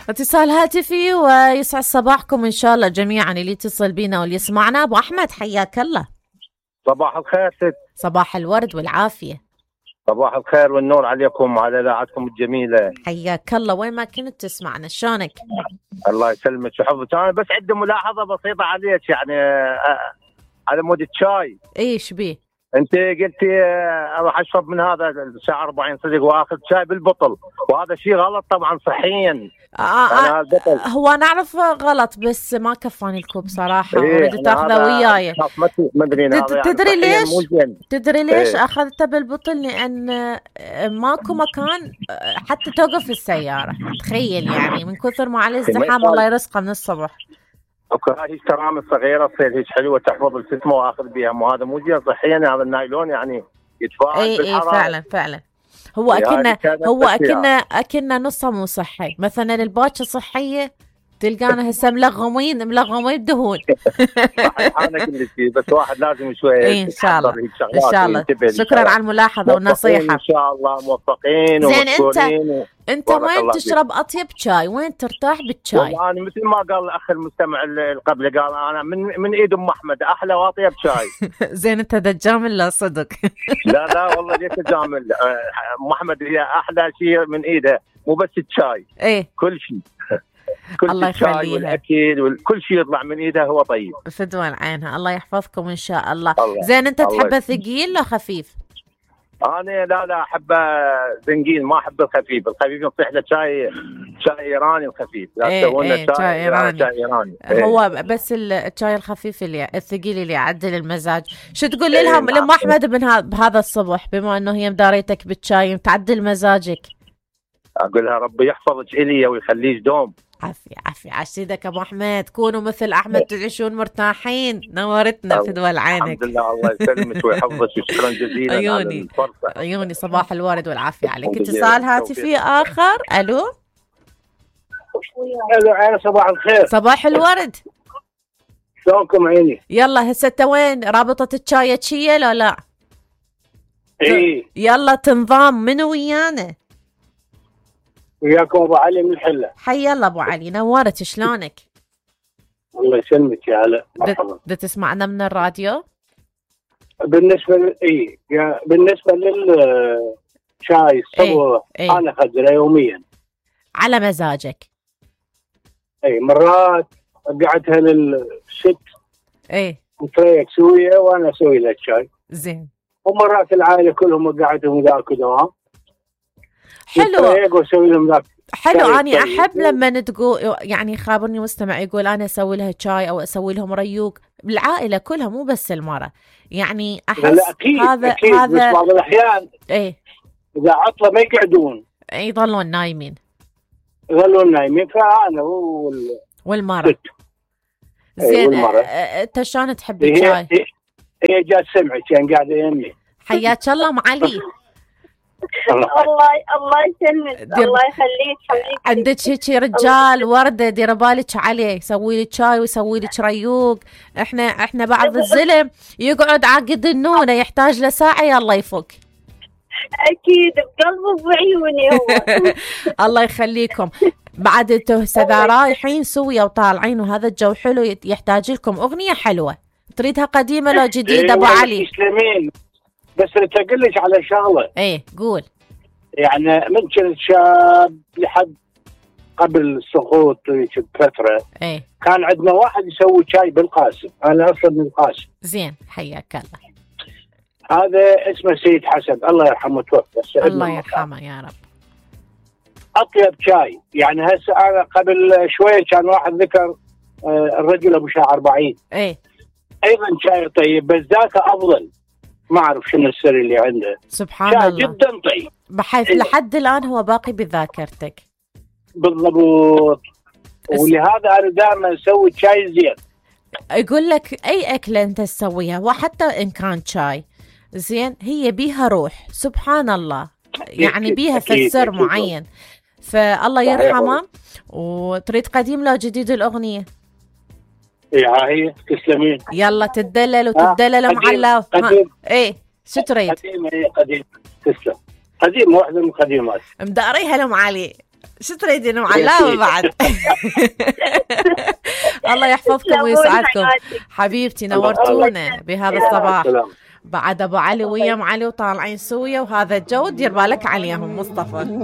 اتصال هاتفي ويسعد صباحكم إن شاء الله جميعا اللي يتصل بينا واللي يسمعنا. أبو أحمد حياك الله. صباح الخير ست. صباح الورد والعافية. صباح الخير والنور عليكم وعلى إذاعتكم الجميلة. حياك الله. وين ما كنت تسمعنا شلونك؟ الله يسلمك ويحفظك. أنا بس عندي ملاحظة بسيطة عليك يعني على مود الشاي. إيش بيه؟ انت قلتي راح اشرب من هذا الساعه 40 صدق واخذ شاي بالبطل، وهذا شيء غلط طبعا صحيا. هو نعرف غلط بس ما كفاني الكوب صراحه. اريد تاخذه وياي. تدري ليش؟ تدري ليش اخذته بالبطل؟ لان ماكو مكان حتى توقف السياره. تخيل يعني من كثر ما عليه ازدحام. الله يرزقه من الصبح. هي الترامل الصغيره تصير هيك حلوه تحفظ الجسم واخذ بها، مو هذا مو زين صحيا. هذا النايلون يعني يتفاعل بالحراره. فعلا هو اكنه نصه مو صحي. مثلا الباكه صحيه تلقانا هسه ملغمين دهون. انا كل شيء بس واحد لازم شويه ان شاء الله. ان شاء الله. شكرا على الملاحظه والنصيحه. ان شاء الله موفقين ومشكورين. انت وين تشرب اطيب شاي؟ وين ترتاح بالشاي؟ انا مثل ما قال الاخ المستمع اللي قبل، قال انا من ايد ام احمد احلى واطيب شاي. زين انت دجامل لا صدق؟ لا والله ليش دجامل. ام احمد هي احلى شيء من ايدها، مو بس الشاي. كل شيء. الله يخليها. والاكل وكل شيء يطلع من ايدها هو طيب. فدوى عينها. الله يحفظكم ان شاء الله. زين انت تحبه ثقيل ولا خفيف؟ انا لا احبه زنقين، ما احب الخفيف. الخفيف نصيح له شاي ايراني الخفيف. لا تسوون شاي ايراني. هو بس الشاي الخفيف اللي الثقيل اللي يعدل المزاج. شو تقول لهم لام احمد بهذا الصبح بما انه هي مداريتك بالشاي تعدل مزاجك؟ اقول لها ربي يحفظك الي ويخليك دوم. عافية عشيدك ابو احمد. كونوا مثل احمد تعيشون مرتاحين. نورتنا في دول عينك. الحمد لله. الله يسلمك ويحفظك وشكرا جزيلا. عيوني صباح الورد والعافية عليك. اتصال هاتفي اخر. الو عيني صباح الخير. صباح الورد. شلونكم عيني؟ يلا هسه وين رابطة الشاي تشية لا؟ يلا تنظام منو ويانا؟ وياكم ابو علي من الحله. حي الله ابو علي. نورت. شلونك؟ الله يسلمك يا هلا. تسمعنا من الراديو؟ بالنسبه بالنسبه للشاي الصبح انا اخذه يوميا على مزاجك. مرات قعدتها للست وتريك سويه وانا اسوي لها الشاي. زين. ومرات العائله كلهم قعدهم ذاك دوام. حلو. أنا أحب لما تقول يعني خابرني مستمع يقول أنا أسوي لها شاي أو أسوي لهم ريوق بالعائلة كلها مو بس المرة. يعني أحس هذا بس بعض الأحيان إذا عطلة ما يقعدون يظلون نايمين. فأنا والمرة. زين. أنت شلون تحب الشاي؟ هي جات سمعت يعني قاعدة يمي. حياك الله ام علي. الله يسلمك. الله يخليك. عندك هيك رجال ورده دير بالك عليه يسوي لك شاي ويسوي لك ريوق. احنا بعض الزلم يقعد عقد النونه يحتاج له ساعه يلا يفك. اكيد بقلبه وعيوني هو. الله يخليكم. بعد انتوا هسه رايحين سويا وطالعين وهذا الجو حلو يحتاج لكم اغنيه حلوه. تريدها قديمه لو جديده ابو علي؟ بس اقول لك على شغله. قول. يعني من كنت شاب لحد قبل السقوط بفتره كان عندنا واحد يسوي شاي بالقاسم. انا اصلا من القاسم. زين حياك الله. هذا اسمه سيد حسن الله يرحمه توفى. الله يرحمه يا رب. اطيب شاي يعني هسه انا قبل شويه كان واحد ذكر الرجل ابو شاعر بعيد. ايضا شاي طيب بس ذاك افضل. ما اعرف شنو السر اللي عنده. سبحان الله. جدا طيب بحيث لحد الان هو باقي بذاكرتك. بالضبط. ولهذا انا دائما اسوي شاي زين. يقول لك اي اكله انت تسويها وحتى ان كان شاي زين هي بيها روح. سبحان الله. يعني بيها فسر معين. فالله يرحمه. وتريد قديم لو جديد الاغنيه؟ هي تسلمين. يلا تدلل وتدلل معلّا. شو تريد؟ قديم تسلم. قديم واحدة من القديمات. مداريها لهم علي. شو تريدين معلمة بعد؟ الله يحفظكم ويسعدكم حبيبتي، نورتونا بهذا الصباح. بعد ابو علي ويا علي وطالعين سويا، وهذا الجو دير بالك عليهم مصطفى.